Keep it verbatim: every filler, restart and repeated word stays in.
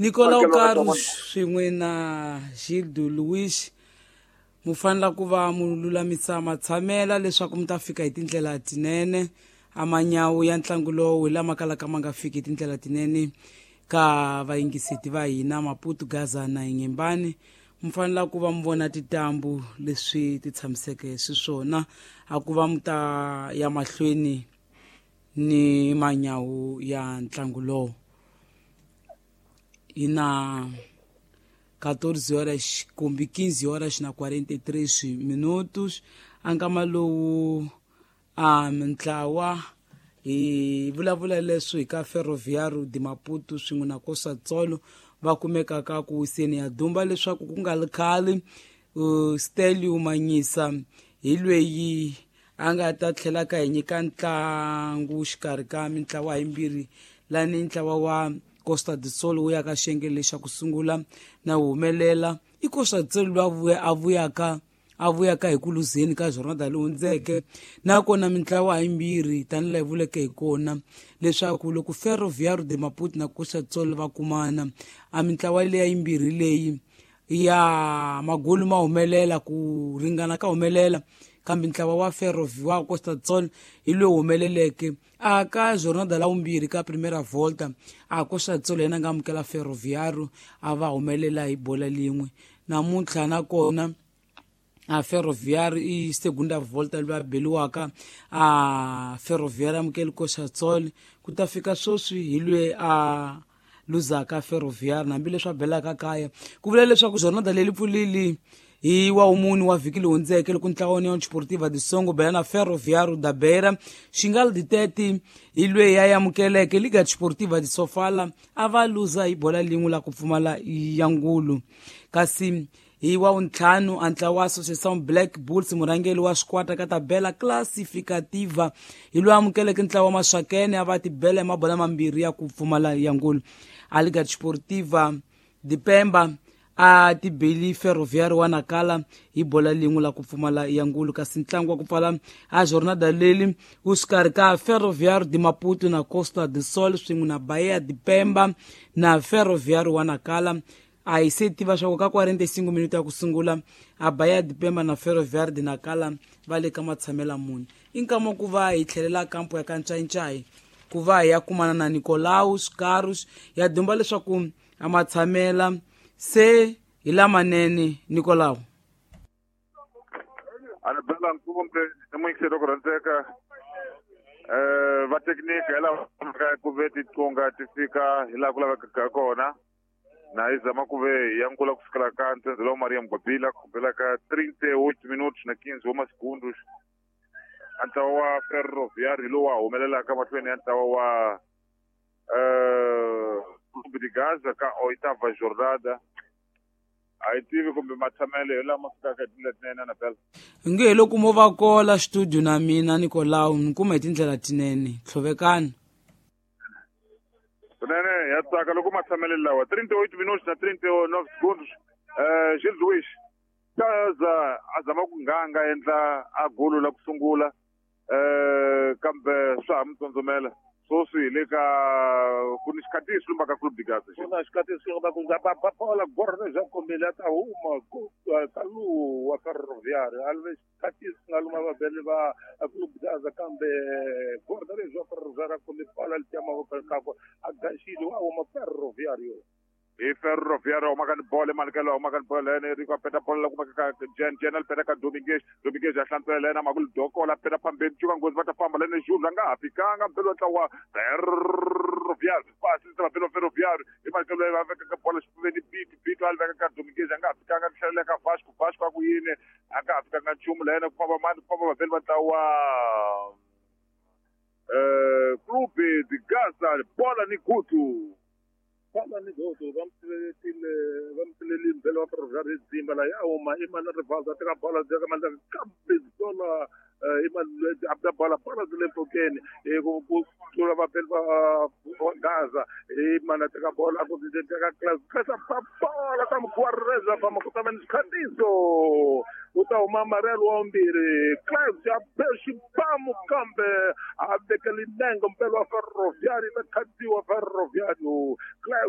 Nicolau Carlos swin'we na Gildo Luis mu fanela ku va mu lulamisa matshamela leswaku mi ta fika hi tindlela tinene. A manyawu ya ntlangu lowu hi lama kalaka ma nga fiki hi tindlela tinene ka vayingiseti va hina Maputo, Gaza na Inhembane. Mi fanela ku va mi vona titambu leswi ti tshamiseke xiswona, a ku va mi ta ya mahlweni ni manyawu ya ntlangu lowu. Hi na quatorze horas kumbe quinze horas na quarenta e três minutos. A nkama lowu a mintlawa hi vulavula leswi hi ka Ferroviário de Maputo swin'we na Costa Tsolo va kumekaka ku wiseni ya dumba leswaku ku nga ri khale uh, Stelio Manyisa hi lweyi a nga ta tlhela ka hi nyika ntlangu xikarhi ka mintlawa yimbirhi lani ntlawa wa Costa do Sol wu ya ka xiyenge lexa ku sungula na wu humelela. I Costa do Sol loyi a vuyaka a vuyaka hi ku luzeni ka jornada leyi hundzeke, nakona mintlawa yimbirhi tanihi laha hi vuleke hi kona leswaku loko Ferroviário de Maputo na Costa do Sol va kumana a mintlawa leya yimbirhi leyi ya magolu ma humelela ku ringana ka humelela, kambe ntlawa wa Ferroviário wa Costa do Sol hi lowu humeleleke a ka jornada la vumbirhi ka Primeira Volta. A Costa do Sol yena nga amukela Ferroviário a va humelela hi bola lin'we. Namuntlha nakona a Ferroviário i segunda volta loyi a beliwaka a Ferroviário amukeli Costa do Sol ku ta fika sweswi hi loyi a luzaka Ferroviário hambileswi a belaka kaya. Ku vula leswaku jornada leyi pfulile hi wa wumuni wa vhiki leyi hundzeke loko ntlawa wa União Desportiva de Songo bela na Ferroviário da Beira. Xingal Ditete hi loyi ya amukeleke Liga Desportiva de Sofala a va luza hi bola lin'we la ku pfumala ya ngulu. Kasi hi wa wuntlhanu a ntlawa wa Associação Black Bulls murhangeri wa xikwata ka tabela classificativa hi loyi amukeleke ntlawa wa Maxakene a va tibela hi mabola mambirhi ya ku pfumala ya ngulu. A Liga Desportiva de Pemba a tibeli Ferroviário wa Nacala hi bola lin'we la ku pfumala ya ngulu. Kasi ntlangu wa ku pfala a jornada leli wu xikarhi ka Ferroviário de Maputo na Costa do Sol swin'we na Bahia de Pemba na Ferroviário wa Nacala. A hi se tiva swa ku ka quarenta e cinco minuto ya ku sungula a Bahia de Pemba na Ferroviário de Nacala va le ka matshamela mune. I nkama ku va hi tlhelela kampo ya ka Ncayincai ku va hi ya kumana na Nicolaus Carlos ya dumba leswaku a matshamela se hi lamanene. Nicolau Anabela Nkumbe i muyingiseri wa ku rhandzeka um va thekiniki hi lava ku ve tiqunga ti fika hi laha ku lavekaka kona na hi zama ku ve ya nkula ku fikela ka ntsendze lowa Maria Mugwabila ku bela ka trinta e oito minutos na quinze wa masegundos. A ntlawa wa Ferroviário hi lowu wa humelelaka mahlweni ya ntlawa wa um Clube de Gaza ka oitava jornada. A hi tivi kumbe matshamelo hi lama fikaka hi tindlela tinene. Anabela nge hi loko mo va kola studio na mina Nicolau ni kuma hi tindlela tinene tlhovekani kunene ya tsaka loko matshamelo lawa trinta e oito minutos na trinta e nove segundos. um Gil Luis Gaza a zama ku nganga endla a golo la ku sungula um kambe swa ha mi tsondzomela sweswi hi le ka ku ni xikhatiso lumba ka Clube de Gaza. Ku na xikhatiso lumba ku nga bola gorne ja kombile a ta huma ka lowu wa Ferroviário a ve xikhatiso nga luma vabeli va Clube de Gaza kambe gorne lexi wa Ferroviário a kombe bola letiya mavoko kakwe a gaxile wa huma Ferroviário. Hi Ferroviário humaka ni bolo emalikelo humaka ni bolo lene Rico a peta bolo la kumeka ka Jen Jen a peta ka Dominguez Dominguez a hlantswela lena Makulu Dokola peta phambeni cuka nghozi va ta famba lene Jules a nga ha fikanga mpelo wa ntlawa Ferroviário pasi ta vapelo Ferroviário hi malikelo va veka ka bolo xifuveni Bito Bito a veka ka Dominguez a nga ha fikanga tlhelela ka Vasco Vasco a ku yini a nga ha fikanga nchumu lene ku famba mani ku famba vapelo va ntlawa eh Clube de Gaza bola ni gutu bola ni goto va mupfuletile va mupfulelile mbele wa Ferroviário dzimba la ya huma i mana Rivaldo a teka bola ka mandla kambe bola i mana a bola bola byi le mpfhukeni ku ku tlula vapeli va Gaza i mana teka bola ku teka class class bola ka mukwareza famba ku ta va ni xikhatiso u ta huma Amarelo wa vumbirhi Class ya be xibamu kambe a vekele nenge mpelo wa Ferroviário ta khatiwa Ferroviário Class